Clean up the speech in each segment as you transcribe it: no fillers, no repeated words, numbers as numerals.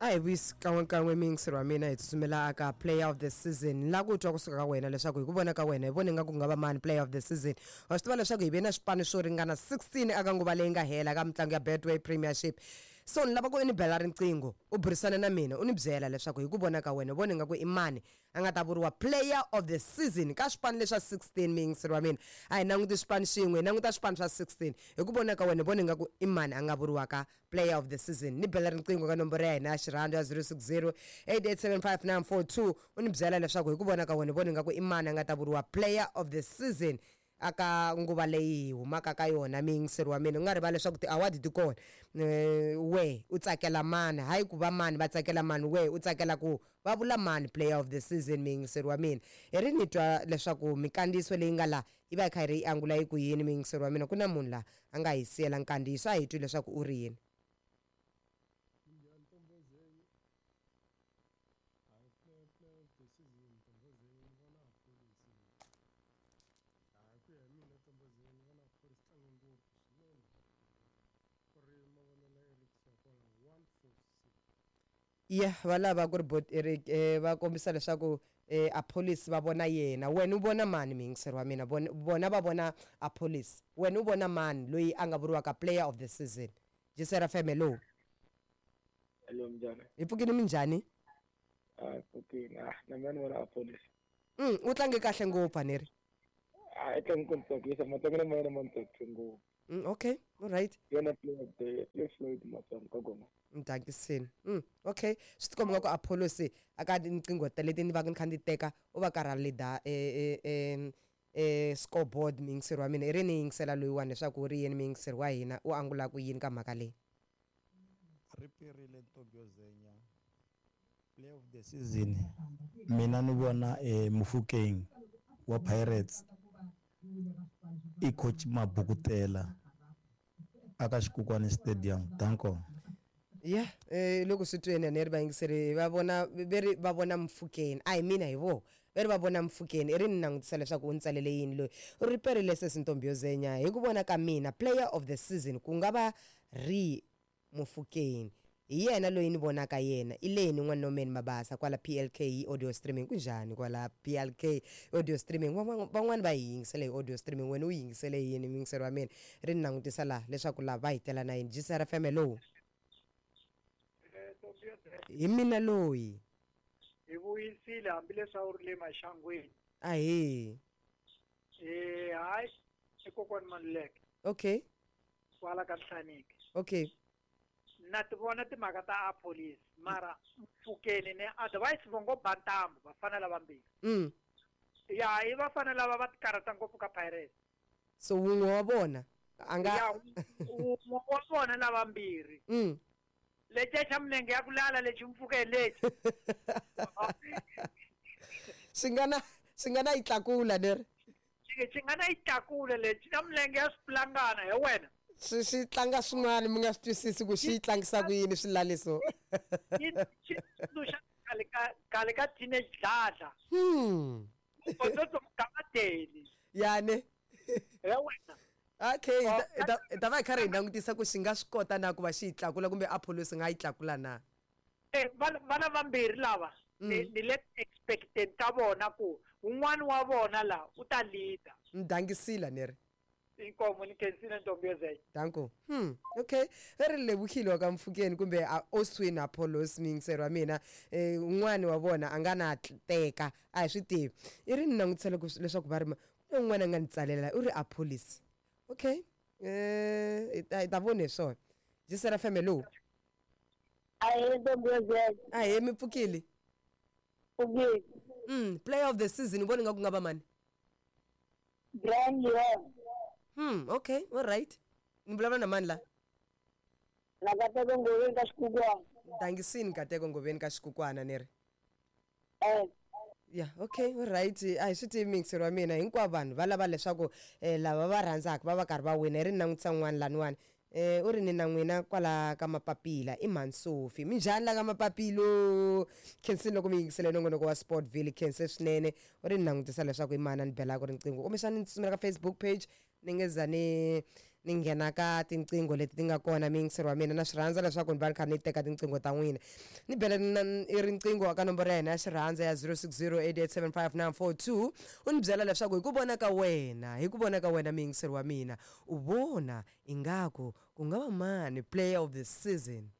A hi vuyisi kan'wekan'we miyingiseri wa mina, hi tsutsumela aka player of the season. Ni lava ku twa kusuka ka wena leswaku hi ku vona ka wena hi vone nga ku nga va mani player of the season. Wa swi tiva leswaku hi ve na swipano swo ringana 16 aka nguva leyi nga hela ka mitlangu ya Betway Premiership. So ni lava ku i ni bela riqingho u burisana na mina u ni byela leswaku hi ku vona ka wena u vone nga ku i mani a nga ta vuriwa player of the season ka swipano leswa 16. Miyingiseri wa mina, a hi languti swipano xin'we, hi languta swipano swa 16. Hi ku vona ka wena vone nga ku i mani a nga vuriwaka player of the season? Ni bela riqingho ka nomboro ya hina ya xirhandzu ya 060 8875942 u ni byela leswaku hi ku vona ka wena vone nga ku i mani a nga ta vuriwa player of the season aka nguva leyi hi humaka ka yona. Miyingiseri wa mina, u nga rivali leswaku ti-award ti kona. We u tsakela mani? Hayi ku va mani va tsakela mani, we u tsakela ku va vula mani player of the season? Miyingiseri wa mina, hi ri ni twa leswaku mikandziyiso leyi nga laha yi va yi kha yi ri yi angula yi ku yini. Miyingiseri wa mina, ku na munhu laha a nga hi siyela nkandziyiso, a hi twi leswaku u ri yini. Hayi, ku ya hi mina Ntombozeni, ni vona Appollis tlanga ngopfu swinene, ku ri mavonelo ya Eric Sokola 146. Ya va lava ku ri bot Eric va kombisa leswaku Appollis va vona yena. Wena u vona mani, muyingiseri wa mina? Vona va vona Appollis, wena u vona mani loyi a nga vuriwaka player of the season? Jisera FM, hello. Hello, minjhani? Hi pfukile, minjhani? Ah, pfukile. Ah, na mina ni vona Appollis. U tlange kahle ngopfu, a ni ri? Ah, i tlange ku ni tsakisa, matlangelo ma yena ma ni tsakise ngopfu. Okay, all right. Yena player of the year, le Floyd Matsonga ka goma. Mdakisini. Okay, swi tikomba nga ku Appollis aka tinqingho ta leti ni va ni kha ni teka u va karhi a leader scoreboard. Muyingiseri wa mina, i ri ni yingisela loyiwani leswaku u ri yini. Muyingiseri wa hina, u angula ku yini ka mhaka leyi? Ri perile ntombi yo zenya. Player of the season mina ni vona Mofokeng wa Pirates, i coach Mabukutela aka Xikukwana Stadium. Danko. Ya loko swi tweni ni ri vayingiseri va vona ve ri va vona Mofokeng, a hi mina, hi voho ve ri va vona Mofokeng. I ri ni langutisa leswaku u ni tsalele yini loyi. U ri perile sesi ntombi yo zenya, hi ku vona ka mina player of the season ku nga va ri Mofokeng, hi yena loyi ni vonaka yena. I leni n'wana Norman Mabasa kwala PLK hi audio streaming. Kunjhani kwala PLK audio streaming? Van'wani va hi yingisele hi audio streaming, wena u yingisele yini, muyingiseri wa mina? Ri ni langutisa laha leswaku laha va hi tela na yini. GCR FM, hello. Hi mina loyi. Hi vuyisile hambileswi a wu ri le maxangwini. Ahee. Hayi, i kokwani Maluleke. Kwala ka Nhlaniki. Na ti vona timhaka ta Appollis, mara Mofokeng ne otherwise vo ngo ba ntambu vafana lavambirhi. Ya i vafana lava va ti karhata ngopfu ka Pirates. So wun'we wa vona a nga Ya wun'we wa vona lavambirhi. Leciya xa milenge ya ku lala lexi Mofokeng lexi. Swi nga na yi tlakula leri. Xi nga na yi tlakula lexi na milenge ya swipulangana hi wena. Swi tlanga swin'wana mi nga swi twisisi ku xi yi tlangisa ku yini swilaliso. Xi tsundzuxa khale ka teenage dladla. Botsotso Mgamadeli. Yani. Ya wena. Okay, hi ta va hi karhi hi langutisa ku xi nga swi kota na ku va xi yi tlakula kumbe Appollis nga yi tlakula na. Vana vambirhi lava ni le expected ka vona ku un'wana wa vona la u ta leader. Mdangisile ni ri. Inkomo, ni khensile ntombi yozenya. Danko. Okay, ve ri levukile ka Mofokeng kumbe Oswin Appollis. Muyingiseri wa mina, un'wani wa vona a nga na teka, a hi swi tivi. I ri ni langutisela ku leswaku va ri ku na un'wana a nga ni tsalela, u ri Appollis. Okay, hi ta vona hi swona. Jisera FM, hello. Ahee, ntombi yozenya. Ahee, mi pfukile? Pfukile. Player of the season u vona nga ku nga va mani? Brian Leon. Okay, all right. Ni vulavula na mani la? Na Kateko Ngoveni ka Xikukwana. Dangisini Kateko Ngoveni ka Xikukwana, ni ri? Eh. Ya, okay, all right. A hi swi tivi, muyingiseri wa mina, hinkwavo vanhu va lava leswaku lava va rhandzaka va va karhi va wina. Hi ri ni langutisa n'wana laniwani, u ri ni na n'wina kwala ka mapapila, i Mhansofi. Minjhani la ka mapapilo? Khensini loko mi yingisele nongonoko wa Sportville, khense swinene. U ri ni langutisa leswaku i mani a ni belaka riqingho, kumbexani ni tsutsumela ka Facebook page, ni nge za ni. Ni nghena ka tinqingho leti ti nga kona, muyingiseri wa mina. Na swi rhandza leswaku ni va ni kha ni teka tinqingho ta n'wina. Ni bele i riqingho ka nomboro ya hina ya xirhandza ya 0608875942, u ni byela leswaku hi ku vona ka wena, hi ku vona ka wena, muyingiseri wa mina, u vona ingaku ku nga va mani player of the season?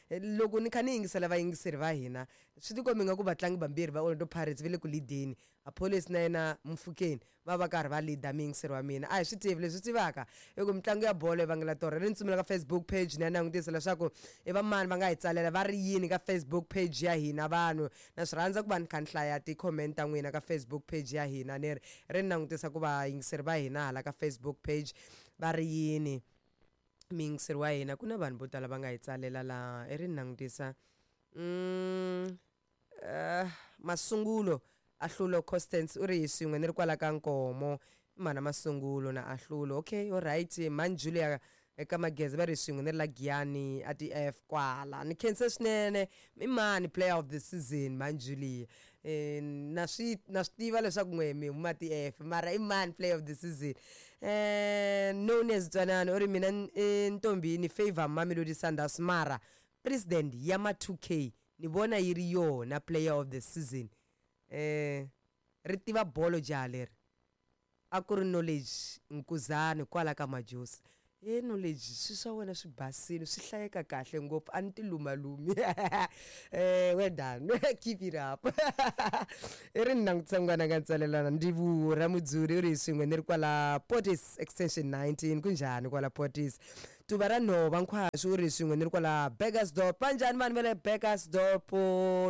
Loko ni kha ni yingisela vayingiseri va hina, swi tikombi nga ku vatlangi vambirhi va Orlando Pirates va le ku lead-eni. Appollis na yena Mofokeng va va karhi va lead-a, muyingiseri wa mina. A hi swi tivi, leswi tivaka i ku mitlangu ya bolo yi vangela torha. Ri ni tsumela ka Facebook page ni ya langutisa leswaku i va mani va nga hi tsalela, va ri yini ka Facebook page ya hina. Vanhu, na swi rhandza ku va ni kha ni hlaya ti-comment ta n'wina ka Facebook page ya hina. Ni ri ri ni langutisa ku vayingiseri va hina hala ka Facebook page va ri yini. Muyingiseri wa hina, ku na vanhu vo tala va nga hi tsalela laha. I ri ni langutisa. Masungulo Ahlulo Constance u ri hi swin'we ni ri kwala ka Nkomo. I mhana Masungulo na Ahlulo. Okay, all right. Mhani Julia eka Mageza va ri swin'we ni ri la Giyani a TF kwala. Ni khense swinene. I mani player of the season, mhani Julia? Na swi tiva leswaku n'we mi huma TF, mara i mani player of the season? Known as Twanani u ri mina ntombi ni favor Mamelodi Sundowns, mara president ya ma 2K ni vona yi ri yona player of the season. Ri tiva bolo jaha leri. A ku ri Knowledge Nkuzani kwala ka Majosi. E Knowledge, swi swa wena swi basile, swi hlayeka kahle ngopfu, a ni ti lumalumi. Well done, keep it up. I ri ni langutisa n'wana nga ntsalelana Ndivu ra Mudzuri u ri swin'we ni ri kwala Portis Extension 19. Kunjhani kwala Portis? Tuva ra Nhova Nkhwashu u ri swin'we ni ri kwala Burgersdorp. Va njhani vanhu va le Burgersdorp?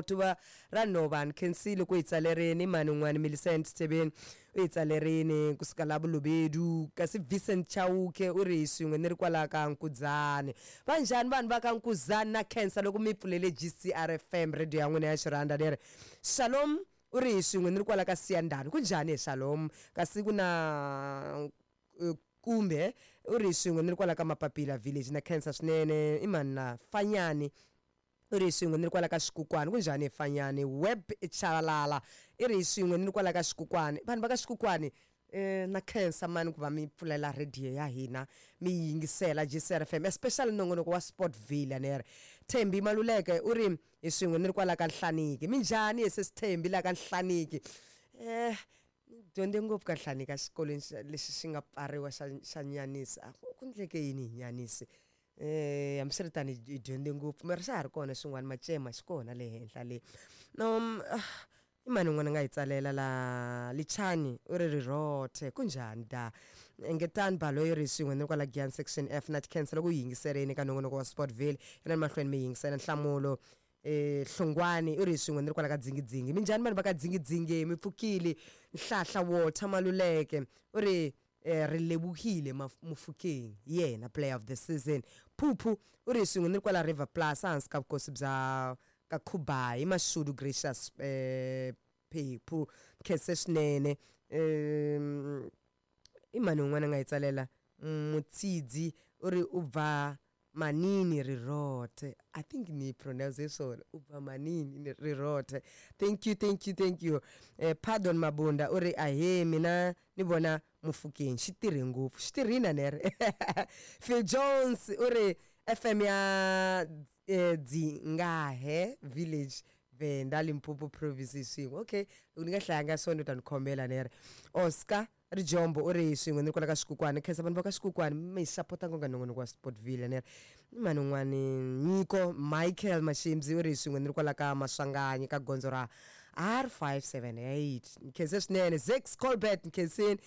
Tuva ra Nhova, ni khensile ku hi tsalerini. Mani un'wana, Millicent Tebeni, u hi tsalerini kusuka la Bolobedu. Kasi Vincent Chauke u ri swin'we ni ri kwala ka Nkudzani. Va njhani vanhu va ka Nkuzani? Na khensa loko mi pfulele GCR FM, radio ya n'wina ya xirhanda leri. Shalom u ri hi swin'we ni ri kwala ka Siyandhani. Kunjhani hi Shalom? Kasi ku na kumbe u ri swin'we ni ri kwala ka Mapapila village. Na khensa swinene. I mani na Fanyani u ri swin'we ni ri kwala ka Xikukwani. Kunjhani hi Fanyani? Web Chavalala i ri swin'we ni ri kwala ka Xikukwani. Vanhu va ka Xikukwani, na khensa mani ku va mi pfulela radio ya hina, mi yingisela GCR FM, especially nongonoko wa Sportville. Nere Thembi Maluleke u ri hi swin'we ni ri kwala ka Nhlaniki. Minjhani hi sesi Thembi la ka Nhlaniki? Dyondze ngopfu ka Nhlaniki exikolweni lexi xi nga pfariwa xa Nyanisi. A ku ndleke yini hi Nyanisi? Hambiswiritano hi dyondze ngopfu, mara xa ha ri kona xin'wana Macema, xi kona le henhla le. No, i mani un'wana a nga hi tsalela la? Lichani u ri rirhothe. Kunjhani da? Engetani Baloyi ri swin'we ni ri kwala Giyani Section F. Na tikhensa loko u yingiserini ka nongonoko wa Sportville. Yena mahlweni mi yingisela nhlamulo. Hlongwani u ri swin'we ni ri kwala ka Dzingidzingi. Minjhani vanhu va ka Dzingidzingi? Mi pfukile? Nhlahla Walter Maluleke u ri ri lebohile Mofokeng, yena player of the season. Phuphu u ri swin'we ni ri kwala River Plus, ehansi ka vukosi bya ka Khubayi Mashudu Gracious. Phephu, khense swinene. I mani un'wana a nga hi tsalela? Mutsidzi u ri u bva manini rirothe. I think ni pronounce swona, u bva manini rirothe. Thank you, thank you, thank you. Pardon Mabunda u ri ahe, mina ni vona Mofokeng, xi tirhe ngopfu, xi tirhina nere. Phil Jones u ri FM ya Dzingahe village, Venda, Limpopo province, swin'we. Okay, loko ni nga hlayanga swona u ta ni khomela nere. Oscar Rijombo u ri swin'we ni ri kwala ka Xikukwani. Khensa vanhu va ka Xikukwani, mi sapota nkonga nongonoko wa Sportville nere. Mani un'wani, Nyiko Michael Mashimzi u ri swin'we ni ri kwala ka Maswanganyi ka gondzo ra R578. Nkhense swinene. Zex Colbert, nkhensini.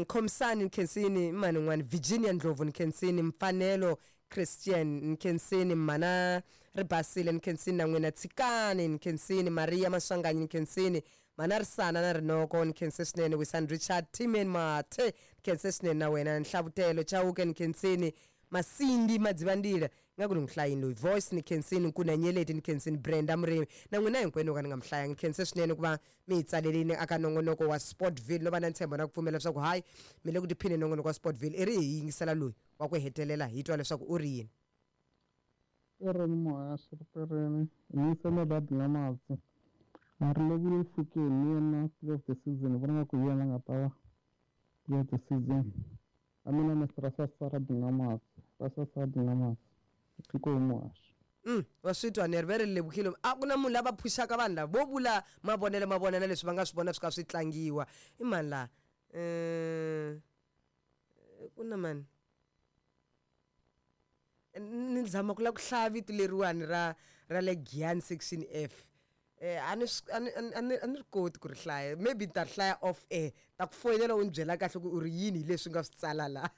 Khomisani, nkhensini. Mani un'wani, Virginia Ndlovu, nkhensini. Mfanelo Christian, nkhensini. Mana Ribasile, nkhensini na n'wina. Tshikani, nkhensini. Maria Maswanganyi, nkhensini. Manarisana na Rinoko, nkhense swinene. Wisan Richard Timen Mathe, nkhense swinene na wena. Nhlavutelo Chauke, nkhensini. Masindi Madzivandila, nga ku ni n'wi hlayini loyi. Voice, ni khensini. Nkuna Nyeleti, ni khensini. Brenda Murimi, na n'wina hinkwenu ka ni nga mi hlayanga, ni khense swinene ku va mi hi tsalelini aka nongonoko wa Sportville. No va na ntshembo na ku pfumela leswaku hayi, mi le ku tiphini nongonoko wa Sportville. I ri hi yingisela loyi wa ku hetelela, hi twa leswaku u ri yini. Pereni muhaxi ri pereni ni radi nga matsi a ri lovile Mofokeng, ni yena player of the season. Vona nga ku hi yena a nga ta va player of the season. A mina Mr. Rasasa ra Dingamasi, Rasasa Dingamasi. Inkomu muhaxi. Wa swi twa ni ri ve ri levukile a ku na munhu lava phuxaka vanhu lava vo vula mavonelo ma vona na leswi va nga swi vona swi kha swi tlangiwa i mani laha ku na mani ni zama ku lava ku hlaya vito leriwani ra le Giyani section F. A ni a ni ri koti ku ri hlaya, maybe ni ta ri hlaya off air, ta ku foyinela u ni byela kahle ku u ri yini hi leswi nga swi tsala la.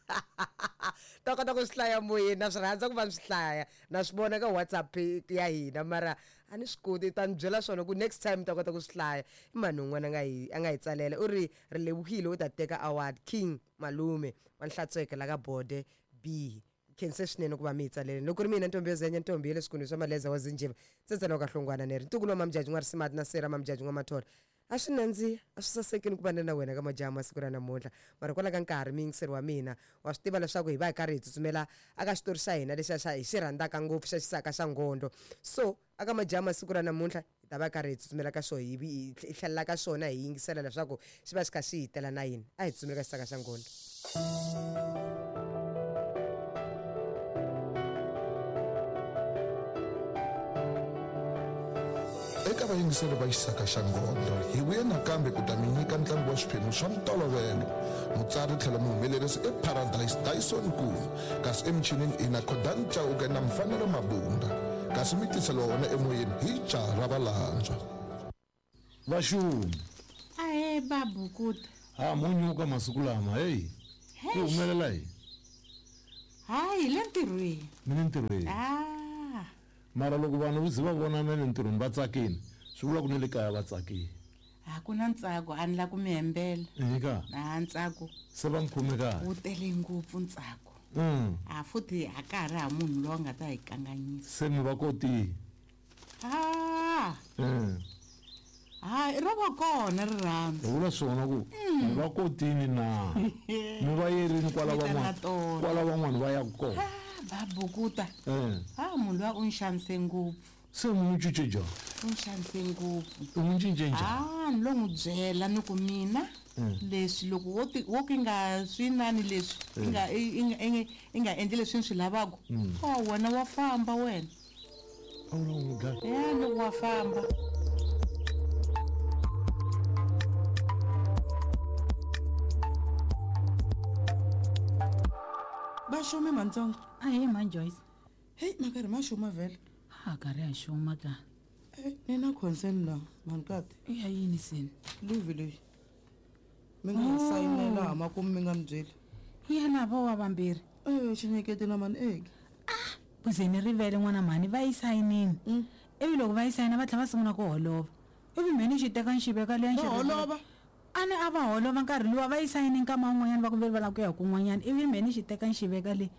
Ta kota ku swi hlaya moyeni, na swi rhandza ku va ni swi hlaya, na swi vona ka WhatsApp ya hina mara a ni swi koti, ta ni byela swona ku next time ta kota ku swi hlaya. I mani un'wana a nga hi tsalela u ri ri levukile u ta teka award King Malume wa Nhlatsweke la ka Bode B. Khense swinene ku va mi hi tsaleleni. Loko ku ri mina ntombi yo zenya ntombi ya le swikunwini swa Maleza wa Zinjiva, Tsetsela wa ka Hlongwana ni ri ntukulu wa Mamjaji n'wa Risimati na Sera Mamjaji n'wa Mathola. A swi nandziha, a swi sasekini ku va ni na wena ka majaha ma siku ra namuntlha. Mara kwala ka nkarhi muyingiseri wa mina, wa swi tiva leswaku hi va hi karhi hi tsutsumela aka xitori xa hina lexiya xa hi xi rhandzaka ngopfu xa xisaka xa Ngondo. So aka majaha ma siku ra namuntlha hi ta va karhi hi tsutsumela ka xona, hi tlhelela ka xona hi yingisela leswaku xi va xi kha xi hi tela na yini. A hi tsutsumeli ka xisaka xa Ngondo. Eka vayingiseri va Xisaka xa Ngondo, hi vuye nakambe ku ta mi nyika ntlangu wa swiphemu swa ntolovelo. Mutsari tlhelo muhumelerisi i Paradise Dyson Nkuna, kasi emichinini i na Khodan Chauke na Mfanelo Mabunda, kasi mi tiseliwa wona emoyeni hi jaha ra Valandzwa. Vaxumi. Ahee Babukuta. Ha mo nyuka masiku lama heyi. Ku humelela yini? Hayi hi le ntirhweni. Mi le ntirhweni? Ah. Mara loko vanhu vo ze va vonana le ntirhweni va tsakile, swi vula ku ni le kaya va tsakile. A ku na ntsako, a ni la ku mi hembela. Eka? A ntsako. Se va mi khome kahle? Wu tele ngopfu ntsako. A futhi a ka ha ri ha munhu loyi a nga ta hi kanganyisa. Se mi va kotile? Ah. Ha, ro va kona rirhandzu. Hi vula swona ku mi va kotini na? Mi va yerini kwala Mi ta na van'wana, tona. kwala van'wana va yaka kona. Ah, Babukuta. Ah, munhu luya u ni xanise ngopfu. Se mi n'wi cince njhani? U ni xanise ngopfu. U n'wi cince njhani? Ah, ni lo n'wi byela ni ku mina leswi loko wo ti wo ka i nga swi nani leswi i nga i nga i nga endli leswi ni swi lavaka. Oh, wena wa famba wena. A wu lava ku n'wi dlaya? Ya, ni ku wa famba. Vaxumi mantsongo. Ahee mhani Joyce. Heyi ma karhi ma xuma vhele. Ha karhi ha xuma ka. Eh, ni na concern la mhanikati. I ya yini seni? Luvi leyi. Mi nga yi sayinela ha makumu mi nga ni byeli. Ya lava wa vambirhi. Eh, xinyeketi na mani eki. Ah, kuze ni rivele n'wana mhani va yi sayinini. Ivi loko va yi sayina va tlhela va sungula ku holova. Ivi mhe ni xi teka ni xi veka liya ni xi Va holova? A ni a va holova nkarhi luwa va yi sayini nkama wun'wanyana va ku ve va lava ku ya kun'wanyana ivi mhe ni xi teka ni xi veka le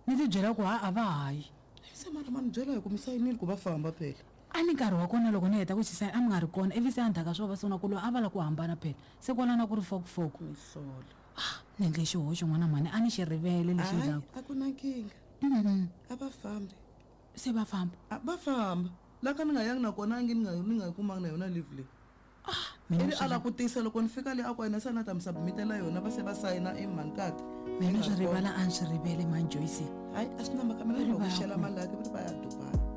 ni ti byela ku ha a va ha yi. Se mara ma ni byela hi ku mi sayinile ku va famba phela. A ni nkarhi wa kona loko ni heta ku xi sayina a mi nga ri kona ivi se endzhaku ka swona va sungula ku lwa a va lava ku hambana phela se kwalano a ku ri fokofoko. Mihlola. Ah, ni endle xihoxo n'wana mhani a ni xi rivele lexi Hayi, ndzaku. a ku na nkingha. A va fambi. Se va famba? A va famba. La ka ni nga yangi na kona a nge ni nga ni nga yi kumanga na yona leave leyi. Mina Ivi swi a la ku tisa loko ni fika le a ku yena se a na ta mi submitela yona va se va sayina i mhanikati. Mina swi rivala a ni swi rivele mhani Joyce. Hayi a swi na mhaka mina ni va Rivala hoxela ku. mali ya va ri va ya Dubai.